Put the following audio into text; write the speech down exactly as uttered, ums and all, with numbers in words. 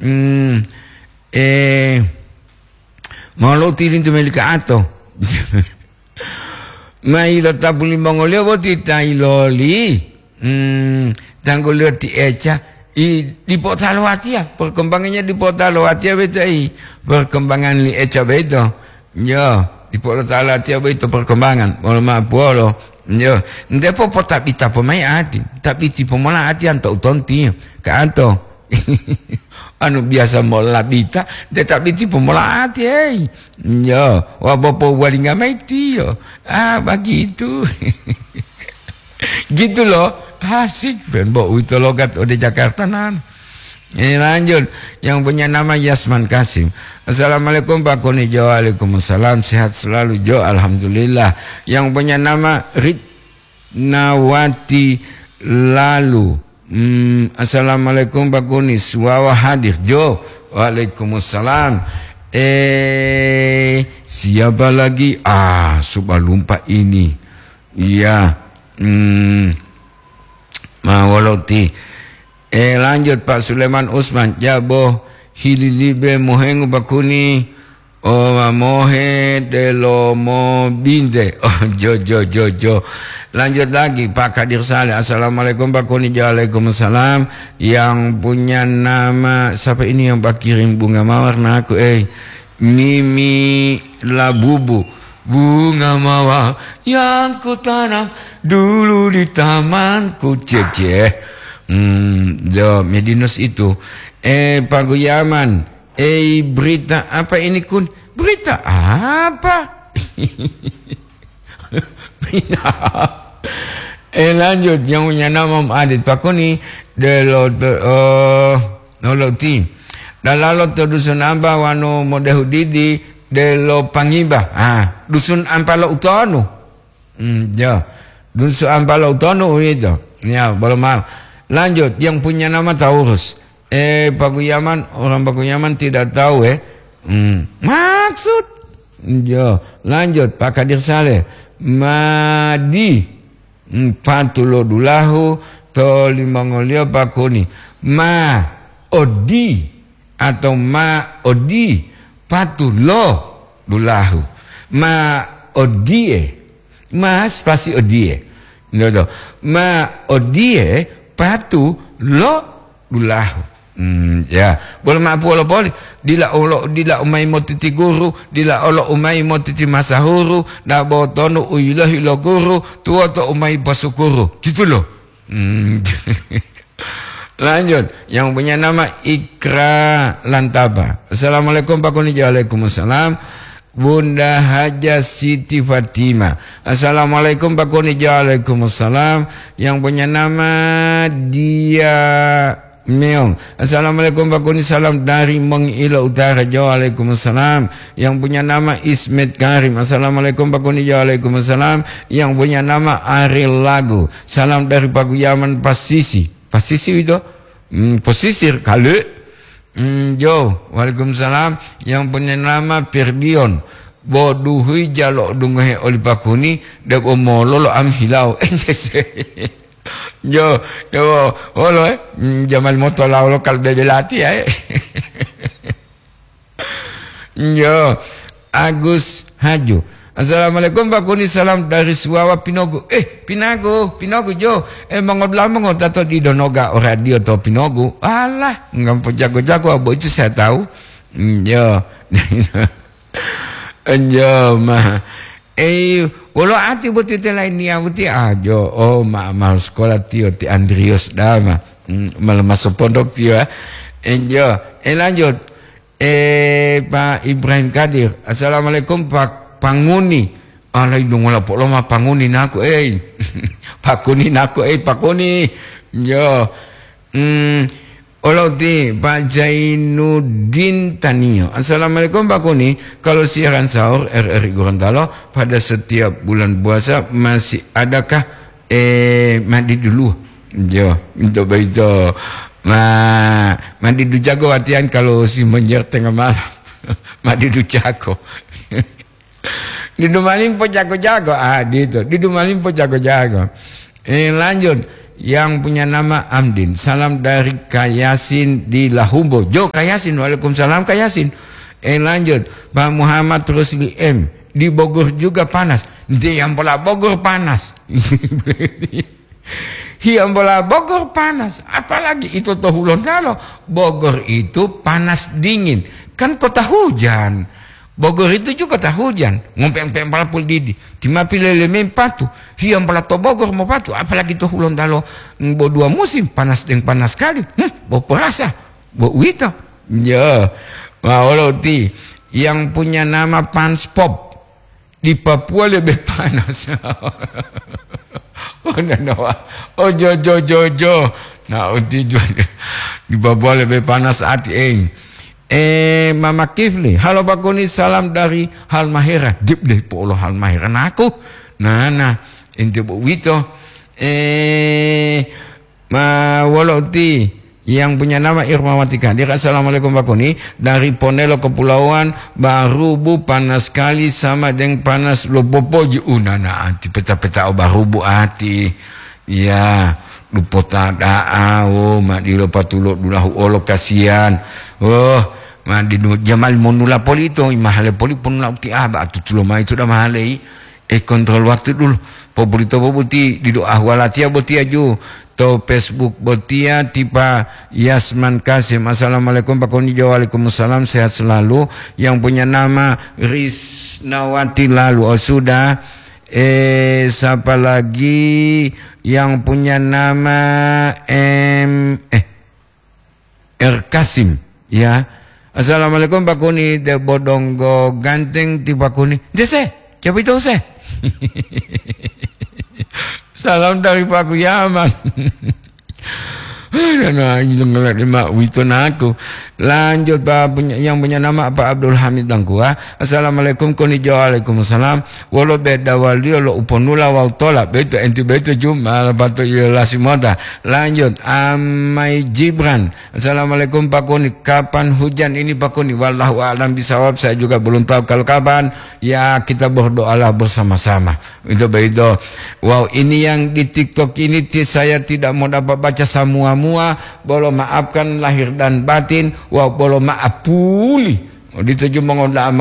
Hmm, eh, mau lo tilintu meli ka'ato. Mai lo tapu limongoliyo boti ta iloli. Hmm, tangguliyo ti Eca. I, dipo talo watiya. Perkembangannya dipo talo watiya beto i. Perkembangan li Eca beto. Yo, dipo lo talo watiya beto perkembangan. Molo ma puolo. Yo, ndepo potabita pomai ati. Tabiti pomola ati anto utonti. Ka anto. Anu biasa mola bita, nde tabiti pomola ati, hei. Yo, wa bopo walinga mai tiyo. Ah, begitu. Gitu loh. Asik, Fen. Bo, uwito logat ode Jakarta nan. Ini lanjut. Yang punya nama Yasman Kasim. "Assalamualaikum, Pak Kuni Jo." "Waalaikumsalam. Sehat selalu, Jo." "Alhamdulillah." Yang punya nama Ritnawati Lalu. Hmm, "Assalamualaikum, Pak Kuni. Suwawa hadir, Jo." "Waalaikumsalam." Eh, siapa lagi? Ah, subalumpa ini. Iya. Hmm. Ma wolo ti. Eh, lanjut, Pak Sulaiman Usman. Jabo hililibe mohengu, Pak Kuni. O ma mohe delomo binte. Oh, jo, jo, jo, jo. Lanjut lagi, Pak Kadir Saleh. "Assalamualaikum, Pak Kuni." "Waalaikumsalam." Yang punya nama, siapa ini yang Pak kirim bunga mawar na aku, eh? Mimi Labubu. "Bunga mawar yang kutanam dulu di tamanku." Cece. Hmm, jo, Medinus itu. Eh, Pak Guyaman. Eh, berita apa ini, Kun? Berita apa? Berita apa? Eh, lanjut. Yang punya nama Om Adit Pakuni, delo, eh, noloti. Dalalo to dusun amba wanu modehu didi, delo pangiba. Ah, dusun ampa lo utonu. Hmm, ya. Dusun ampa lo utonu itu. Ya, belum mau. Lanjut, yang punya nama Taurus. Eh, Pak Guyaman, orang Pak Guyaman tidak tahu, eh. Hmm, maksud. Ya, lanjut, Pak Kadir Saleh. Madi. Hmm, patu lo dulahu, to limongoliyo Pak Kuni. Ma, odi, atau ma, odi, patu lo dulahu. Ma, odie. Ma, spasi odie. Dodo. Ma, odie, patu lo dulahu. Hmm, ya. Bolo ma'apuwolo poli, dila olo, dila umai motiti guru, dila olo umai motiti masahuru, dabo tonu u yilohi lo guru, tuwoto umai posukuru. Gitu loh. Hmm. Lanjut, yang punya nama Ikra Lantaba. "Assalamualaikum, Pak Kuni." "Waalaikumsalam." Bunda Haja Siti Fatimah. "Assalamualaikum, Pak Kuni." "Waalaikumsalam." Yang punya nama Dia Meong. "Assalamualaikum, Pak Kuni. Salam dari Mengilo Utara." "Waalaikumsalam." Yang punya nama Ismet Karim. "Assalamualaikum, Pak Kuni." "Waalaikumsalam." Yang punya nama Ariel Lagu. "Salam dari Paguyaman Pasisi." Pasisi itu? Hmm, pesisir, kali. Hmm, jo, waalaikumsalam. Yang punya nama Ferdion. Bo duhui jalo dungohe oli Pak Kuni, debo mololo am hilau. Jo, jo, wolo, eh? Hmm, jamal moto laulo kal bebe lati, eh? Yo, Agus Haju. "Assalamualaikum, Pak Kuni, salam dari Suwawa Pinogu." Eh, Pinagu, Pinogu, jo. Eh, mongodulamu ngotato di donoga o radio to Pinogu. Alah, ngampo jago-jago, abo itu saya tahu. Hmm, yo. Enjo, ma. Eh, wolo ati boti te lain niya boti ajo. Oh, ma, ma sekolah tiyo ti Andrius dama. Hmm, malah masuk pondok tiyo, ya. Enjo. Eh, lanjut. Eh, Pak Ibrahim Kadir. "Assalamualaikum, Pak Panguni." Alai dungola polo ma Panguni naku, eh. Pakuni naku, eh, Pakuni. Yo. Hmm, olo ti Pak Zainuddin Tanio. "Assalamualaikum, Pak Kuni. Kalau siaran sahur R R I Gorontalo pada setiap bulan puasa masih adakah?" Eh, mandi dulu. Jo, untuk begitu. Ma, mandi dulu jago latihan kalau si menjer tengah malam. Mandi dulu jago. Didu malimpo jago-jago. Ah, gitu. Didu malimpo jago-jago. Eh, lanjut. Yang punya nama Amdin. Salam dari Kayasin di Lahumbo. Jo Kayasin, waalaikumsalam Kayasin. Eh, lanjut, Pak Muhammad Rusli M. Di Bogor juga panas. Dia yang pola Bogor panas. Hiya mola Bogor panas, apalagi ito to Hulontalo. Bogor itu panas dingin, kan kota hujan. Bogor itu juga kota hujan. Ngompe-ngompe pala pul didi. Tima pile lemem patu. Hiya mola to Bogor mo patu, apalagi to Hulontalo. Bo dua musim, panas deng panas sekali. Hmm, bo perasa, bo uwito. Ya, ma olo ti yang punya nama Pans Pop. Di Papua lebih panas. Oh, nanawa. Oh, jo, jo, jo, jo. Nah, uti jo. Di Papua lebih panas ati, eh. Eh, Mama Kifli. Halo, Pak Koni, salam dari Halmahera. Dip deh, polo Halmahera naku. Nah, nah. Ente bo wito. Eh, Ma, wolo uti yang punya nama Irmawati Kadir. Assalamualaikum, Pak Koni. Dari Ponelo Kepulauan Barubu, panas sekali sama deng panas lo popoji. Unana ati peta-peta o Barubu ati. Ya, lupota da'a, oh, ma dilo patulo dulahu olo kasihan. Oh, ma di jamal monula polito, imahale poli ponula uti aba atutulo mai sudah mahalei. Eh, kontrol waktu dulu. Poburito bobuti didu ahwalatiya botiya ju to Facebook botiya tipa Yasman Kasim. Assalamualaikum Pak Konijo. Waalaikumsalam, sehat selalu. Yang punya nama Risnawati lalu. Oh, sudah. Eh, siapa lagi yang punya nama em eh R Kasim, ya. Assalamualaikum Pak Kuni, de bodonggo ganteng ti Pak Kuni. Dese, coba itu se. Salam dari Pak Kuyaman. Nah, ini dengar lima wito naku. Lanjut Pak punya, yang punya nama Pak Abdul Hamid Dangkua. Assalamualaikum Kuni Jo. Waalaikumsalam. Wolo beda waliyo lo uponula wawu tola. Beto enti beto juma lapato iyo lasimota. Lanjut Amai Jibran. Assalamualaikum Pak Kuni, kapan hujan ini Pak Kuni? Wallahu a'lam bisawab, saya juga belum tahu kalau kapan. Ya, kita berdoalah bersama-sama. Itu begitu. Wow, ini yang di TikTok ini ti-, saya tidak mau dapat baca semua-mua. Bolo maafkan lahir dan batin. Wow, bolo maaf puli. Dituju mongoda-,